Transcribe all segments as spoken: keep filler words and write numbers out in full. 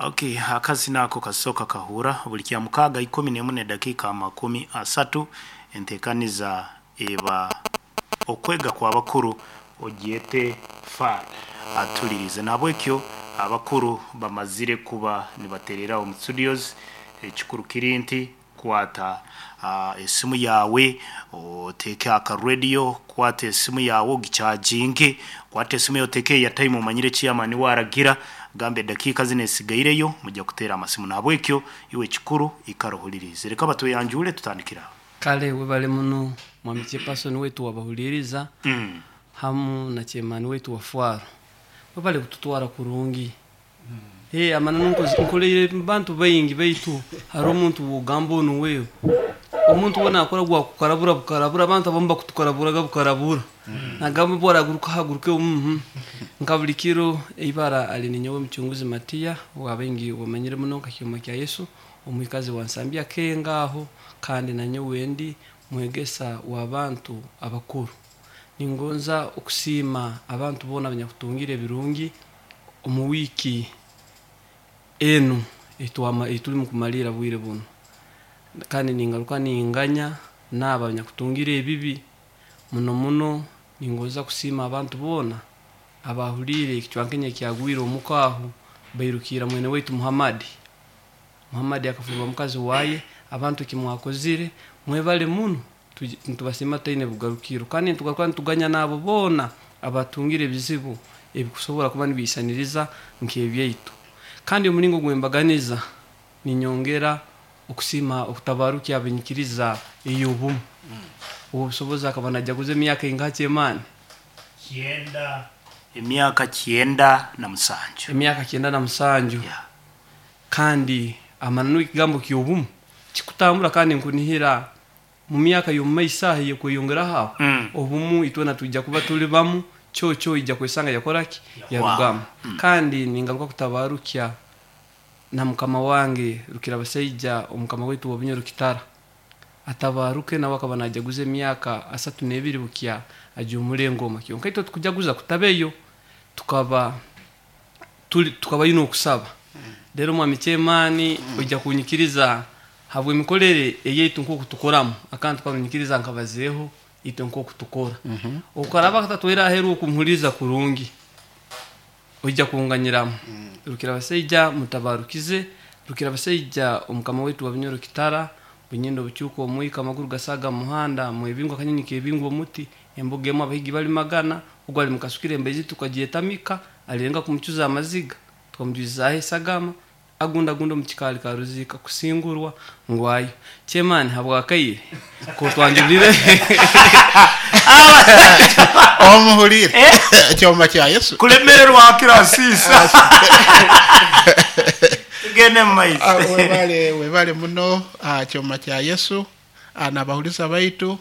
Okay, akazina ako kasoka kahura buli kya mukaaga ikumi n'emu n'edakiika makumi asatu. Enteekaniza eba okwega kw'abakuru, ogyete far atulirize. Nabwekyo abakuru bamazire kuba nibaterera omu studios. Ekikuru kiri nti kwata uh, esimu yawe, oteeke aka radio, kwata esimu yawe ogichaginge, kwata esimu yawe oteeke airtime, omanyire chairman waragira gamba edakiika zino esigaireyo mujja kuteera amasimu. Nabwekyo iwe ekikuru ikara ohulirize. Reka batweyanjure, tutandikira aho. Kale webale muno, mwami chairperson wetu wabahuliriza mm. hamu na chairman wetu wa Fwaro, webale kututwara kurungi. Hey, amananu nkoleire bantu baingi, baitu hari omuntu wogamba onu wewe omuntu wona akora gwa kukarabura bukarabura. Abantu abamu bakutukaraburaga bukarabura, nagamba bwaraguruka haguruke. mm nka buli kiro, eibara ali ninyowe Mucunguzi Matiya, wabaingi wamanyire muno nka Kyoma kya Yesu, omwikazi wa Nsambya kengaho, kandi nanyowe ndi mwegesa w'abantu abakuru. Ningonza okusiima abantu boona abanyakutungire ebirungi omu wiiki enu etwama etuli mukumalira bwire buno, kandi ningaruka ninganya naaba abanyakutungire ebibi muno muno. Ningonza kusiima abantu boona abahuliire ekicwankenya ekyagwire omuka aho, bairukira mwene waitu Muhammadi. Muhammadi akafurwa mukazi waye. Abantu ekimwakozire mwebale muno. Tuji- nitubasiima taine bugarukiro, kandi nitugaruka nituganya n'abo boona abatungire ebizibu ebikusobora kuba nibiisaniriza nk'ebyaitu. Kandi omulingo gwembaganiza, ninyongera okusiima okutabarukya abenyikiriza ey'obumu obwo obusobozi akaba najaguza emyaka ingaha, kyemani? Kyenda, emyaka kyenda na musanju. Emyaka kyenda na musanju. Yeah. Kandi amananu ekigambo ky'obumu kikutambura, kandi nkunihira mu myaka y'omumaiso aho eyekweyongeraho aho, Mm. obumu itwena twija kuba tuli bamu kyokyo ija kwesanga yakoraki yarugamu. Kandi ningaruka kutabarukya na mukama wange Rukira Basaija, omukama waitu wa Bunyoro Kitara, atabaruke, nawe akaba najaguza emyaka asatu n'ebiri bukya ajumura engoma. Kyonka itwe tukujaguza kutabeyo, tukaba tuli tukaba ino okusaba. Rero mwami kyemani, ojja kunyikiriza habw'emikorere eyaitu nk'oku tukoramu akantu karunyikiriza nkabazeeho itwe nk'oku tukora, okaraba katatwera aheru okumuhuliriza kurungi, ojja kunganyiramu. Rukira Basaija mutabarukize Rukira Basaija, omukama waitu wa Bunyoro Kitara, bunyendo bukyuka omwika, amaguru gasaga muhanda mwebingwa, akanyonyi kebingwa omuti, embuga emu abahigi bali magana, ogwo ali mukasukire embaizi tukagyetamika, alirenga kumucuza amaziga tukamujwizaho esagama, agundagunda omu kikaali karuzika kusingurwa ngwayo. Kyemani, habwakaire kotwanjulire. Omuhulire Kyoma kya Yesu. Kulemererwa kirasisa, tugende mu Ah, maiso. Webale, webale muno, ah, Kyoma kya Yesu, ah, n'abahuliza baitu.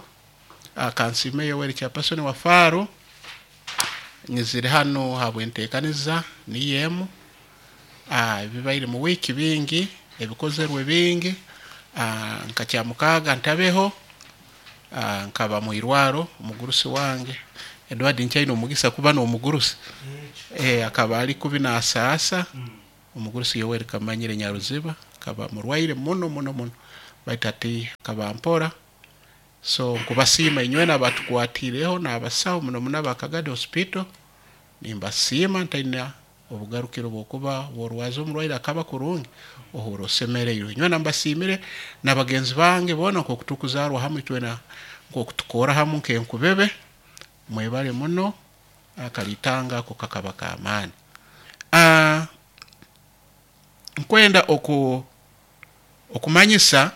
ah, kansime Yoweri chairperson wa Faro, nyizire hano habwentekaniza niyo emu. ah, ebibaire mu wiiki bingi, ebikozerwe bingi. ah, nka kyamukaaga ntabeho, ah, nkaba mu irwaro. Omugurusi wange Edward, nchaine omugisa kuba n'omugurusi, eh, akaba ali kubi nasaasa. Omugurusi Yoweri Kamanyire Nyaruziba akaba murwaire muno muno muno, baitu ati akaba mpora. So nkubasiima inywena abatukwatireho n'abasawo, muno muno abakagadi Hospital, nimbasiima ntaina obugarukiro bwokuba bworwaza omurwaire akaba kurungi, ohura osemereirwe. Inywena mbasiimire n'abagenzi bange boona nk'oku tukuzarwa hamwe itwena, nk'oku tukora hamu nk'enkubebe. Mwebale muno. Akalitanga ako kakaba k'amaani. Ah, nkwenda oku okumanyisa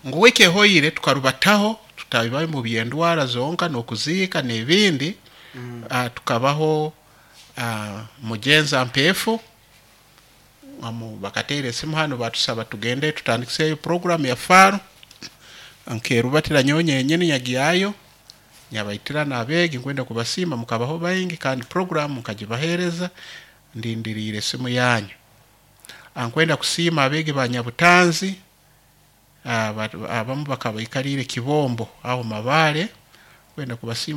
ngu wiiki ehoire tukarubataho tutabibayo mu byendwara zonka n'okuziika n'ebindi. mm. uh, tukabaho uh, mugenza mpeefu amu bakateera esimu hano batusaba tugende tutandikiseyo program ya Faro. Nkerubatira nyowe nyenyini nyagyayo, nyabaitira n'abeegi. Nkwenda kubasiima, mukabaho baingi, kandi program nkagibaheereza. Ndindiriire esimu yanyu. Nkwenda kusiima abeegi ba Nyabutanzi, ah, ba- abamu bakaba baikaliire Kibombo aho Mabaale. Kwenda kubasiima.